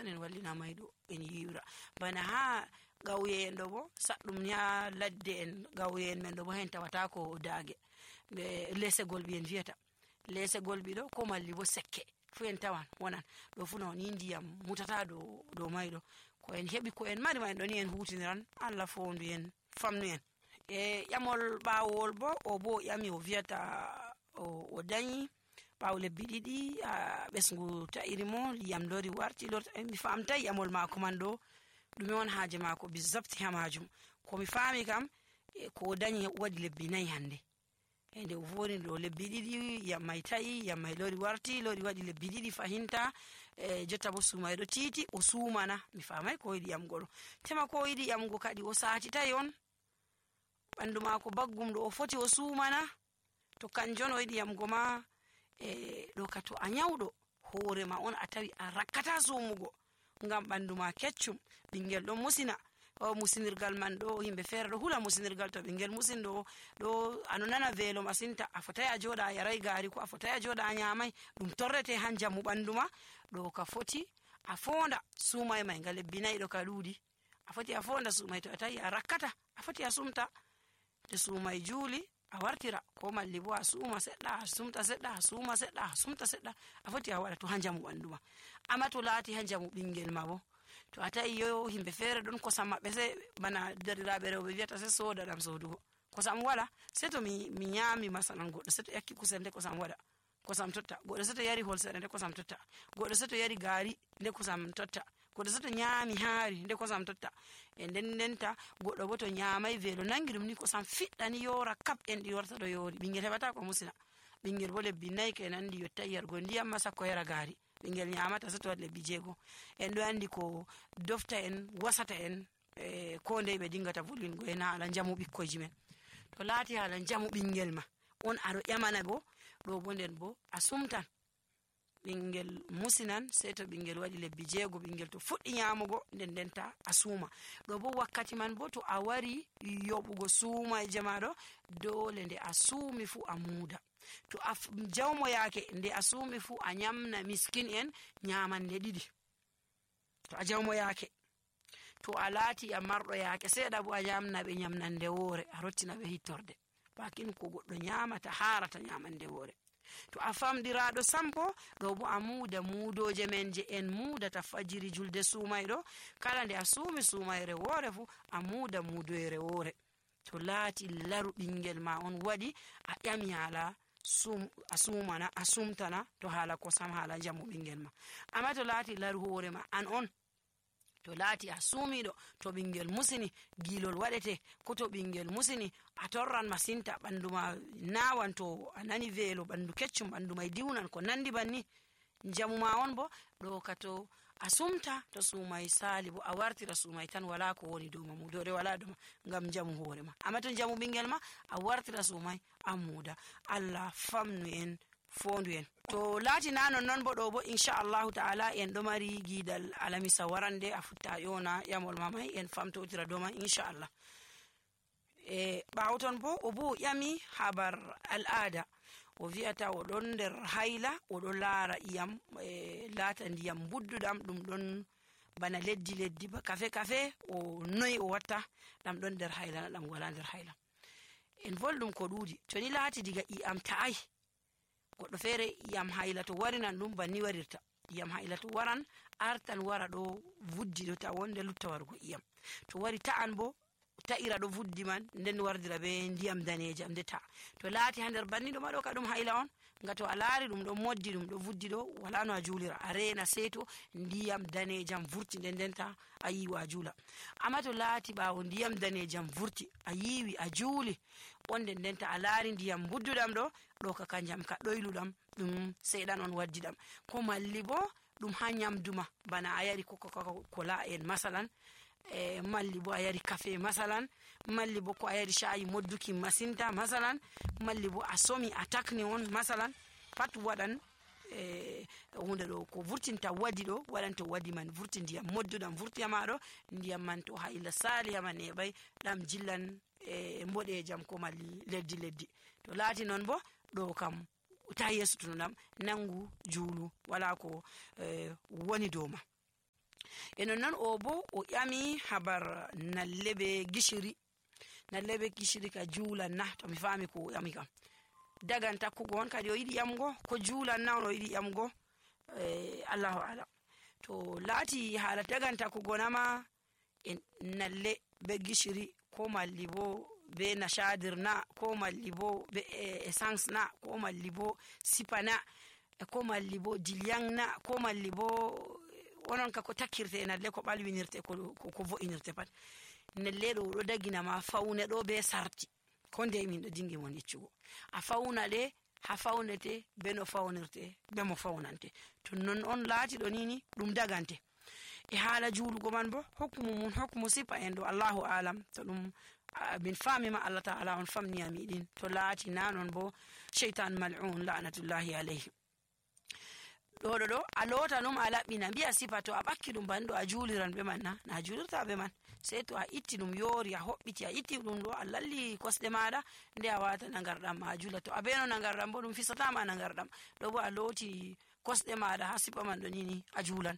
ton en wallina maydo en yiwra bana ha gawye en do bo saddum nya ladde en gawye en men do bo hen tawata ko daage be lesegol bi en vieta lesegol bi do ko malli bo sekke fu en tawan wonan do fu non indiyam mutata do maydo ko en hebi ko en mari ma en do ni en hutiniran alla fondu en famnu en yamol bawol bo o bo yami o vieta o dañi bawo lebbi didi besngu ta'iri mo yam lori warti mi famta yamol mako man do dum won haaje mako bi zabti hamajum ko mi fami kam ko dañi wadi lebbi nay hande ende o voni do lebbi didi yam mai ta'i yam mai lori warti lori wadi lebbi didi fahinta jotta bo sumay do titi o sumana mi famai ko yidi yam golo tema ko yidi yam go kadi o saati tayon bandu mako baggum do o foti o sumana to kanjon o yidi yam goma do kato a nyawdo hoore ma on a tawi a rakkata sumugo ngam bandu ma keccum bingel do musina o musinirgal man do himbe fere do hula musinirgal to bingel musin do anonana velo masinta a fotay a joda yarai gari ko a fotay a joda nyamai dum torrete hanjamu bandu ma do ka foti a fonda sumay mai ngale binay do ka dudi a foti a fonda sumay to tayi a rakkata a foti a sumta de sumay juli a wartira ko malli bo a suma sedda sumta sedda suma sedda sumta sedda a foti a wada to hanjamu bandu ma amma to lati hanjamu bingel ma bo to atai yo himbe fere don ko samma be se bana darirabe rewbe viata se soda dam sodugo ko sam wala se to mi nyami masalan goddo se to yakki kusende ko sam wada ko sam totta goddo se to yari holsere nde ko sam totta goddo se to yari gari nde ko sam totta goddo se to nyami haari nde ko sam totta e dendenta goddo bo to nyamai velo nangirum ni ko sam fiddani yora kap en di yorta do yori bingel hebata ko musina bingel bo lebbi nay kenan di yotta yargo ndiyam masa ko yara gari bingel nyamata se to lebbi jego en do andi ko dofta en wasata en ko ndey be dingata volwingo en ala jamu bikkoji men to laati ala jamu bingel ma on aro yamana go do bo nden bo asumtan bingel musinan se to bingel wadi lebbi jego bingel to fuddi nyamugo dendenta asuma do bo wakkati man bo to a wari yobugo suma e jamaado dole nde asumi fu amuda to jawmo yake nde asumi fu a nyamna miskin en nyamande didi to a jawmo yake to alati a mardo yake seda bo a nyamna be nyamnande wore a rottina be hittorde bakin ko goddo nyamata harata nyamande wore to a famdirado sampo do bo amuda mudoje menje en muda ta fajiri julde sumaydo kala nde asumi sumayre wore fu amuda mudoyre wore to lati laru bingel ma on wadi a yami hala asumana asumtana to hala ko sam hala jamu bingel ma amma to lati laru hore ma an on to lati asumido to bingel musini gilol wadete ko to bingel musini a torran masinta banduma nawan to anani velo bandu keccum bandu mai diunan ko nandi banni jamu ma on bo do kato asumta to sumai sali bo a wartira sumai tan wala ko woni do mamu dore wala do ngam jamu hore ma amma to jamu bingel ma a wartira sumai amuda Allah famnu en fondu en to lati nanon non bo do bo inshallah taala en do mari gidal alamisa warande a futta yona yamol mamai en famto tira do ma inshallah bawton bo o bo yami habar al'ada o viata o don der hayla o do lara iyam lata ndiyam buddudam dum don bana leddi ba kafe o noy o watta dam don der hayla dam wala der hayla en voldum ko dudi to ni lati diga iyam taai goddo fere iyam hayla to warinan dum banni warirta iyam hayla to waran artan wara do vuddi do ta wonde lutta wargo iyam to wari ta'an bo ta'ira do vuddi man nden wardira be ndiyam daneje am deta to laati hander banni do mado ka dum hayla on ngato alaari dum do moddi dum do vuddi do wala no a julira arena seto ndiyam danejam vurti ndenta ayi wa jula amma to laati baawo ndiyam danejam vurti ayiwi a juli onde ndenta alaari ndiyam buddudam do ka kanjam ka doyludam dum seedan on waddi dam ko malli bo dum hanyam duma bana ayari ko la en masalan malli bo ayari kafe masalan malli bo ko ayari shayi modduki masinta masalan malli bo asomi atakni on masalan pat wadan hunde do ko vurtinta wadi do wadanta wadi man vurti ndiyam moddudam vurti amado ndiyam man to hayla sali amane bay dam jillan mbode jam ko malli leddi to laati non bo do kam ta yesu tunam nangu julu wala ko woni doma e non o bo o ƴami habar nalle be gishiri ka juulan na, to mi faami ko o ƴami kam dagan takkugo on kadi o yiɗi ƴamgo ko juulan na on o yiɗi ƴamgo, Allahu alam. to laati haala dagan takkugo nama nalle be gishiri ko malli bo be nashadir na, ko malli bo be essence na, ko malli bo sipa na, ko malli bo dilyang na, ko malli bo onon ka ko takkirte nalle ko ɓalwinirte ko vo'inirte pat. nalle ɗo ɗo dagina ma faune ɗo be sarti ko nde min ɗo dingi mon yeccugo a fauna ɗe ha faunete be no faunirte be mo faunante. to non on laati ɗo nini ɗum dagante. e haala juulugo man bo hokkumu sipa en ɗo Allahu alam, to ɗum min faami ma Allah ta'ala on famni amiɗin, to laati na non bo shaytan mal'un la'natullahi alayhi. ɗo a loota ɗum a laɓɓina mbiya sipa, to a ɓakki ɗum banɗo a juuliran be man na juulirta be man, sey to a itti ɗum yoori a hoɓɓiti a itti ɗum ɗo a lalli kosɗe maɗa nde a wata nagarɗam ma a juula. to a beno nagarɗam bo ɗum fisatama nagarɗam, ɗo bo a looti kosɗe maɗa ha sipa man ɗo nini a juulan.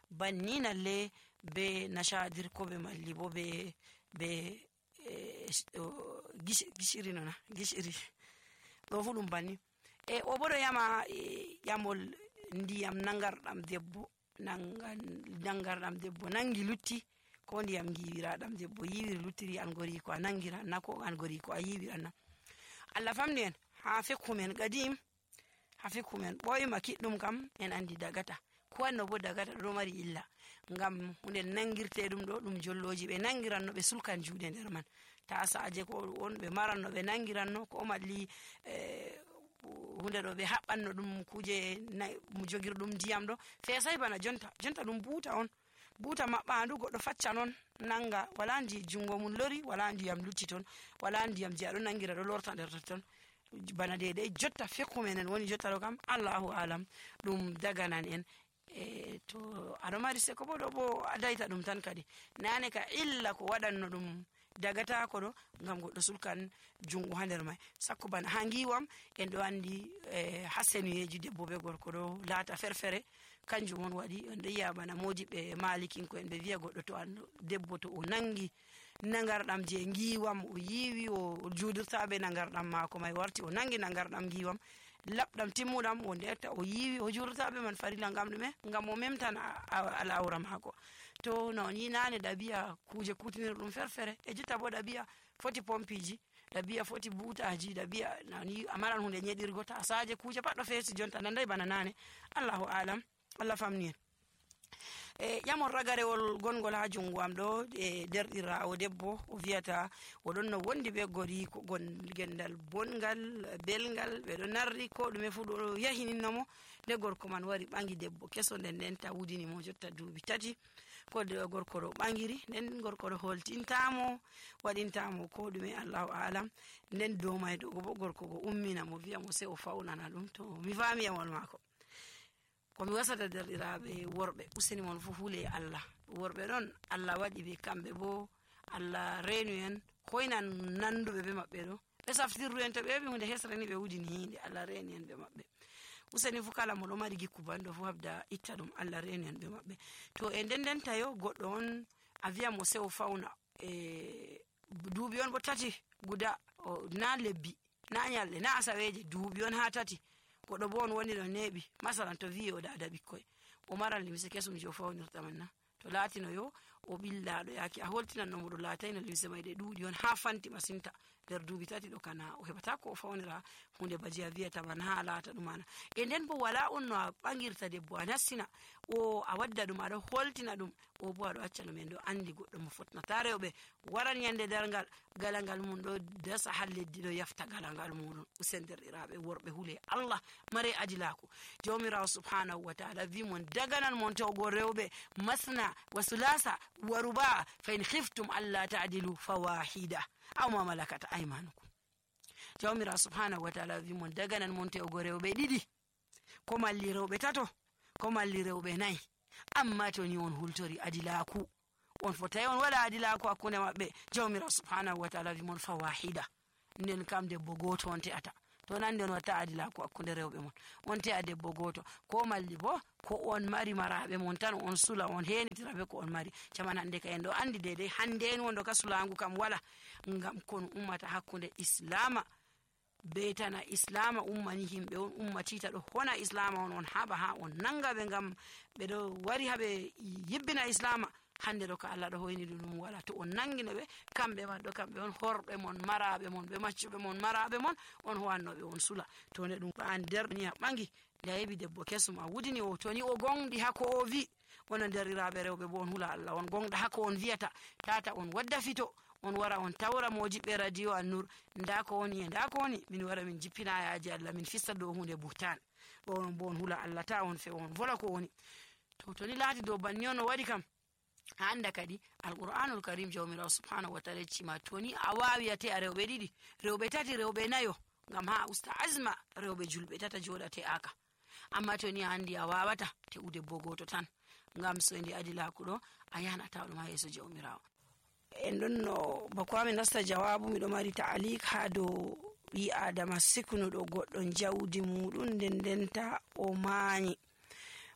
banni nalle be nashadir ko be malli bo be gishiri nona gishiri ɗo fu ɗum banni. o bo ɗo yama ƴamol ndiyam nangarɗam debbo nangi lutti, ko ndiyam giwiraɗam debbo yiwiri luttiri an gori ko a nangiran na, ko an gori ko a yiwiran na. Allah famni en ha fikkumen qadim, ha fikkumen ɓoyma kiɗɗum kam en andi dagata, ko wanno bo dagata ɗo mari illa, ngam hunde nangirte ɗum ɗo ɗum jolloji ɓe nangiranno ɓe sulkan juuɗe nder man, tasaje ko on ɓe maranno ɓe nangiranno, ko malli hunde ɗo ɓe haɓɓanno ɗum kuje jogirɗum ndiyam ɗo fesai bana jonta ɗum buuta on, buuta maɓɓandu goɗɗo facca non nanga, wala ndi jungo mum lori, wala ndiyam lutti ton, wala ndiyam je aɗo nangira ɗo lorta nder ton bana dede jotta fikku menen woni jotta ɗo kam Allahu alam ɗum daganan en. to aɗo mari seko bo ɗo bo a daita ɗum tan kadi nane ka illa ko waɗanno ɗum dagata ko ɗo ngam goɗɗo sulkan jungo ha nder mai. sakko bana ha ngiwam en ɗo andi ha senuyeji debbo be gorko ɗo laata ferfere, kanjum on waɗi on ɗo yiya bana modiɓe malikinko en ɓe wiya goɗɗo to an debbo to o nangi nagarɗam je ngiwam o yiwi o juudirta be nagarɗam mako mai warti o nangi nagarɗam ngiwam labɗam timmuɗam o ndetta o yiwi o juudirta be man farilla, ngam ɗume? Ngam o memtan al'aura mako. to non yi nane ɗabi'a kuje kutinirɗum ferfere, e jotta bo ɗabi'a foti pompiji, ɗabi'a foti butaji, ɗabi'a nani amaran hunde nyeɗirgo, tasaje kuje pat ɗo fesi jonta nandai bana nane. Allahu alam, Allah famni en. ƴamon ragarewol gongol ha jungo am ɗo derɗirawo debbo o wiyata oɗon no wondi be gori ko gendal bongal belgal ɓeɗo narri ko ɗume fu ɗo yahininnomo, nde gorko man wari ɓangi debbo keso nden ta wudini mo jotta duuɓi 3 ko gorko ɗo ɓangiri, nden gorko ɗo holtintamo waɗintamo ko ɗume Allahu alam, nden dow mai ɗo bo gorko go ummina mo wiya mo sai o faunana ɗum. to mi fami yamol mako komi wasata derɗiraɓe worɓe useni mon fu hule Allah, worɓe ɗon Allah waɗi ɓe kamɓe bo Allah reenu en hoynan nanduɓe be maɓɓe ɗo ɓe saftirru en, to ɓe heɓi hunde hesreni ɓe wudini hinde, Allah reeni en ɓe maɓɓe. useni fu kala mo ɗo mari gikku banɗo fu habda itta ɗum, Allah reeni en ɓe maɓɓe. to e nden tayo goɗɗo on a wiya mo sew fauna duuɓi on bo 3 guda na lebbi na nyalɗe na asaweje, duuɓi on ha 3 goɗɗo bo on woni ɗo neeɓi masalan to wi o dada ɓikkoy o maran limse kesum je o fawnirta man na, to laatino yo o ɓillaɗo yaki a holtinan no mo ɗo laatayno limse may ɗe ɗuuɗi on ha fanti masinta nder duuɓi 3 ɗo kana o heɓata ko o fawnira hunde baji a wiyata man ha laata ɗumana. e nden bo wala on no a ɓangirta debbo a nassina o a wadda ɗum aɗo holtina ɗum, o bo aɗo acca ɗum en ɗo andi goɗɗo mo fotnata rewɓe waran yande dargal galangal mum ɗo dasa ha leddi ɗo yafta galangal muɗum. usen derɗiraɓe worɓe hule Allah mare adilaku, jawmirawo subhanahu wa ta'ala wi mon daganan mon tawgo rewɓe masna wa sulasa wa ruba fa in khiftum alla ta'dilu fawahida aw ma malakat aymanukum. jawmirawo subhanahu wa ta'ala wi mon daganan mon tawgo rewɓe 2 ko malli rewɓe 3 ko malli rewɓe 4, amma to ni on hultori adilaku on fotai on waɗa adilaku hakkunde maɓɓe. jawmirawo subhanahu wa ta'ala wi mon fawahida, nden kam debbo goto on te'ata. to nandi on watta adilako hakkunde rewɓe mon. On te'a debbo goto ko malli bo ko on mari maraɓe mon tan on sula on henitiraɓe ko on mari. Caman hande ka en ɗo andi dede hande en wondo ka sulangu kam wala, ngam kon ummata hakkunde islama be tana islama ummani himɓe on ummatita ɗo hona islama on haɓa ha on nanga ɓe ngam ɓe ɗo wari haɓe yibbina islama. hande ɗo ka Allah ɗo hoyni ɗum wala. To on nangino ɓe kamɓe wadɗo kamɓe on horɓe mon maraɓe mon ɓe maccuɓe mon maraɓe mon on howannoɓe on sula. to ne ɗum an nder ni a ɓangi nde a yeɓi debbo kesum a wudini o toni o gonɗi hako o wi wona derriraɓe rewɓe bo on hula Allah on gonɗa hako on wiyata tata on wadda fito on wara on tawra mo jiɓɓe radio An-Nur nda ko woni e nda ko woni min wara min jippina yaji Allah min fista dow hunde buhtan on bo on hula Allah ta on fe on vola ko woni. to ni laati dow banni on o waɗi kam anda kadi alqur'anul karim jawmirawo subhanahu wa ta'ala cima toni a wawi ate a rewɓe ɗiɗi rewɓe tati rewɓe nayo ngam ha usta azma rewɓe julɓe tata joɗate aka. amma toni a andi a wawata te'ude bo goto tan ngam so ndi adilaku ɗo a yanata ɗum ha yeso jawmirawo. en ɗon no bako amin nasta jawabu miɗo mari ta'alik ha dow ɓi adama siknuɗo goɗɗo jawdi muɗum ndendenta o mañi.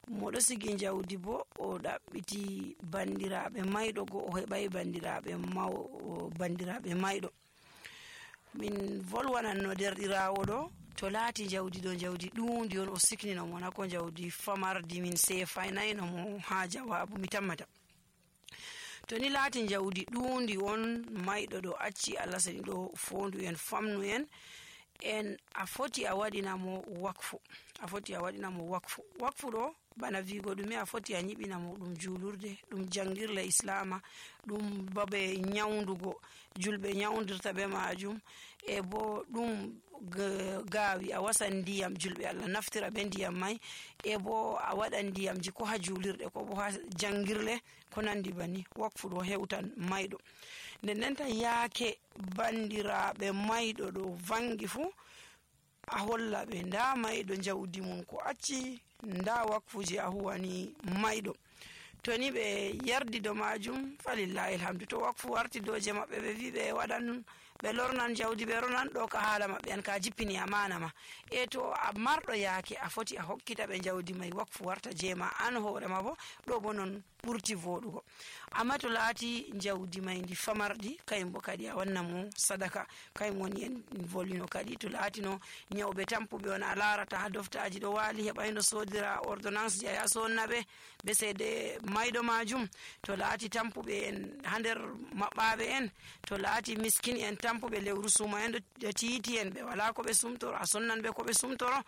moɗo sigi jawdi bo o ɗaɓɓiti bandiraɓe mayɗo go o heɓai bandiraɓe mayɗo. min volwananno derɗirawo ɗo to laati jawdi ɗo jawdi ɗundi on o siknino mo nako jawdi famardi min sefaynayno mo ha jawabu mi tammata. to ni laati jawdi ɗundi on mayɗo ɗo acci Allah sani ɗo fondu en famnu en a foti a waɗinamo wakfu. wakfu ɗo bana vigo ɗume a foti a ñiɓinamo ɗum julurde ɗum jangirle islama ɗum babe nyawdugo julɓe nyawdirta be majum e bo ɗum gaawi a wasan ndiyam julɓe Allah naftira be ndiyam mai e bo a waɗan ndiyamji ko ha julirɗe ko bo ha jangirle ko nandi bani. wakfu ɗo hewtan mayɗo ndendenta yaake bandiraɓe mayɗo ɗo vangi fu a holla ɓe nda mayɗo jawdi mum ko acci nda wakfuji a huwani mayɗo. to ni ɓe yardi do majum falillahi alhamdu. to wakfu warti doje maɓɓe ɓe wi ɓe waɗan ɓe lornan jawdi ɓe ronan ɗo ka haala maɓɓe an ka jippini amana ma e to a marɗo yaake a foti a hokkita ɓe jawdi mai wakfu warta jema an hoorema bo ɗo bo non ɓurti voɗugo. amma to laati jawdi mai ndi famardi kayum bo kadi a wanna mo sadaka kayum woni en volino kadi to laatino nyawɓe tampuɓe on a larata ha doftaji ɗo waali heɓayno sodira ordonnance ji a yaha sonnaɓe be seede mayɗo majum. to laati tampuɓe en ha nder maɓɓaɓe en to laati miskin en tampuɓe lewru suma en ɗo tiiti en ɓe wala ko ɓe sumtoro a sonnan ɓe ko ɓe sumtoro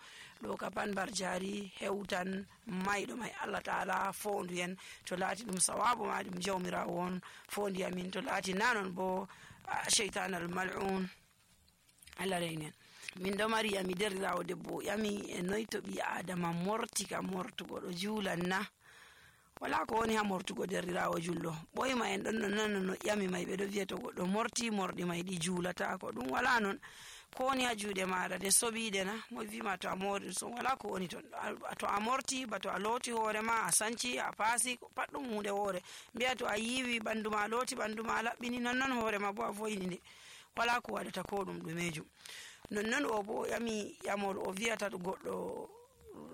ɗo ka pan bar jari hewtan mayɗo mai Allah ta'ala fondu en. to laati ɗum sawabu ma ɗum jawmirawo on fondi amin. to laati nanon bo shaytan al mal'un Allah reynen. min ɗo mari yami derrirawo debbo yami e noy to ɓi adama morti ka mortugo ɗo juulan na wala ko woni ha mortugo derrirawo julɗo ɓoyma en ɗon no nano no yami mai ɓeɗo wiya to goɗɗo morti morɗi mai ɗi juulata ko ɗum wala non. ko woni ha juuɗe maɗa de soɓiɗe na mo wima to a mori so wala ko woni ton. to a morti ba to a looti hoorema a sanci a paasi pat ɗum hunde woore mbiya to a yiwi ɓandu ma looti ɓandu ma laɓɓini nonnon hoorema bo a voyini nde wala ko waɗata ko ɗum ɗumejum. nonnon o bo yami yamol o wiyata goɗɗo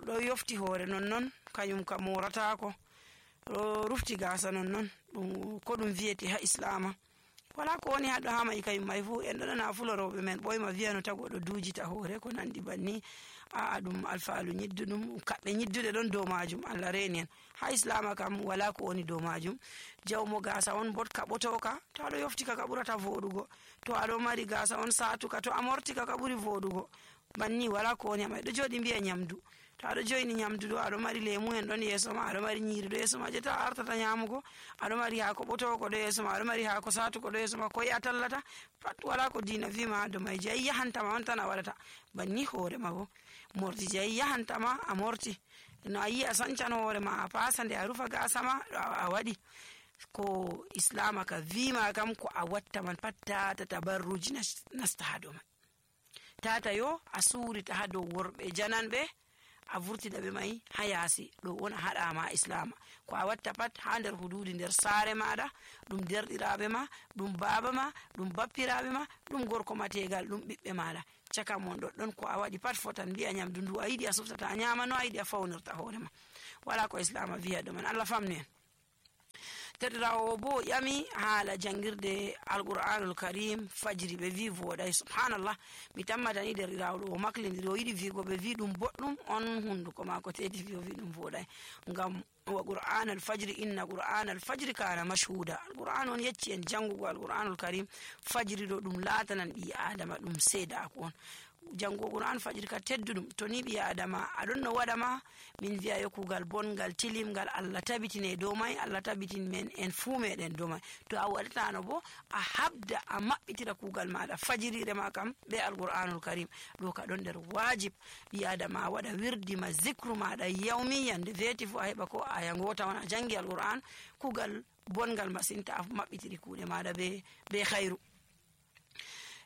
ɗo yofti hoore nonnon kañum ka moratako ɗo rufti gasa nonnon ɗum ko ɗum wiyete ha islama wala ko woni haɗo ha mai kayum mai fu en ɗo nana fuloroɓe men ɓoyma wiyano tago ɗo dujita hoore ko nandi banni a ɗum alfaalu ñiddu ɗum kaɓɓe ñidduɗe ɗon dow majum Allah reni en. ha islama kam wala ko woni dow majum. jawmo gasa on bot kaɓotoka to aɗo yoftika ka ɓurata voɗugo to aɗo mari gasa on satuka to a mortika ka ɓuri voɗugo banni wala ko woni ha mai. ɗo joɗi mbiya nyamdu to aɗo joyni nyamdu ɗo aɗo mari lemu en ɗon yeeso ma aɗo mari nyiri ɗo yeeso ma je ta artata nyamugo aɗo mari haako ɓotoko ɗo yeeso ma aɗo mari haako satuko ɗo yeeso ma koye a tallata pat wala ko dina wima ha dow mai je ayi yahantama on tan a waɗata banni hoorema bo morti je ayi yahantama a morti no ayi a sancan hoorema a pasa nde a rufa gasa ma a waɗi ko islama ka wima kam ko a watta man pat tata tabarruji nasta ha dow mai tata yo a surita ha dow worɓe jananɓe a vurtida ɓe mai ha yaasi ɗo wona haɗama islama ko a watta pat ha nder hududi nder saare maɗa, ɗum derɗiraɓe ma, ɗum baba ma, ɗum bappiraɓe ma, ɗum gorko ma tegal, ɗum ɓiɓɓe maɗa, caka mon ɗoɗɗon ko a waɗi pat fotan mbi'a nyamdu ndu a yiɗi a suftata a nyama no a yiɗi a fawnirta hoore ma, wala ko islam wiya ɗo man. Allah famni en. Terɗirawo bo ƴami haala jangirde alqur'anul karim fajiri ɓe wi voɗay. Subhanallah, mi tammatani derɗirawo ɗo o maklidiri o yiɗi wigo ɓe wi ɗum boɗɗum, on hunduko mako tedi wi o wi ɗum voɗay, ngam wa qur'anal fajri inna qur'anal fajri kana mashhuda. Alqur'an on yecci en jangugo alqur'anul karim fajiri ɗo ɗum latanan ɓi adama ɗum seedako on. Jango qur'an fajiri ka tedduɗum, to ni ɓi adama aɗon no waɗa ma min wi'a yo kugal bongal tilimgal Allah tabitine dow mai, Allah tabitin men en fuu meɗen dow mai. To a waɗatano bo a habda a maɓɓitira kugal maɗa fajirire ma kam be alqur'anul karim, ɗo ka ɗon nder wajib ɓi adama waɗa wirdi ma zicru maɗa yawmi yande veti fu a heɓa ko aya ngota on a jangi alqur'an, kugal bongal masinta a maɓɓitiri kuɗe maɗa be khairu.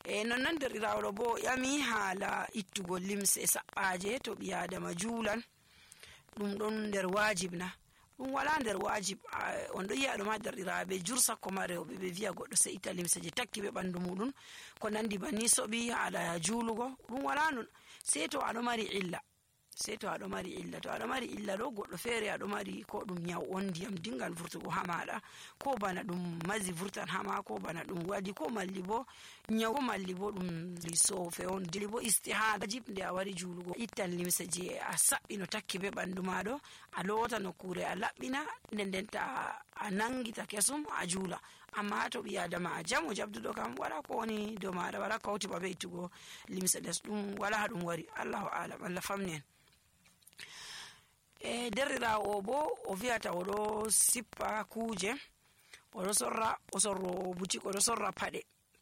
Nonnon derɗirawo bo ƴami haala ittugo limse saɓɓaje to ɓi adama juulan, ɗum ɗon nder wajib na? Ɗum wala nder wajib. On ɗo yi'a ɗum ha derɗiraɓe jur sakko ma rewɓe ɓe wi'a goɗɗo se itta limse je takki ɓe ɓandu muɗum ko nandi banni soɓi haala juulugo, ɗum wala non, sei to aɗo mari illa. To aɗo mari illa ɗo goɗɗo feere aɗo mari ko ɗum nyaw on ndiyam dingan vurtugo ha maɗa, ko bana ɗum mazi vurtan hama, ko bana ɗum waɗi, ko malli bo nyaw, ko malli bo ɗum sofe on, dili bo istihada jib nde a wari juulugo ittan limse je a saɓɓi no takki be ɓandu maɗo, a lota nokkure a laɓɓina, nden ta a nangita kesum a juula. Amma to ɓi adama a jamo jabduɗo kam wala ko woni dow maɗa, wala kawti ba be ittugo limse les, ɗum wala ha ɗum wari. Allahu alam, Allah famni en. Derɗirawo o bo o wi'ata oɗo sippa kuje, oɗo sorra o sorro butik, oɗo sorra paɗe,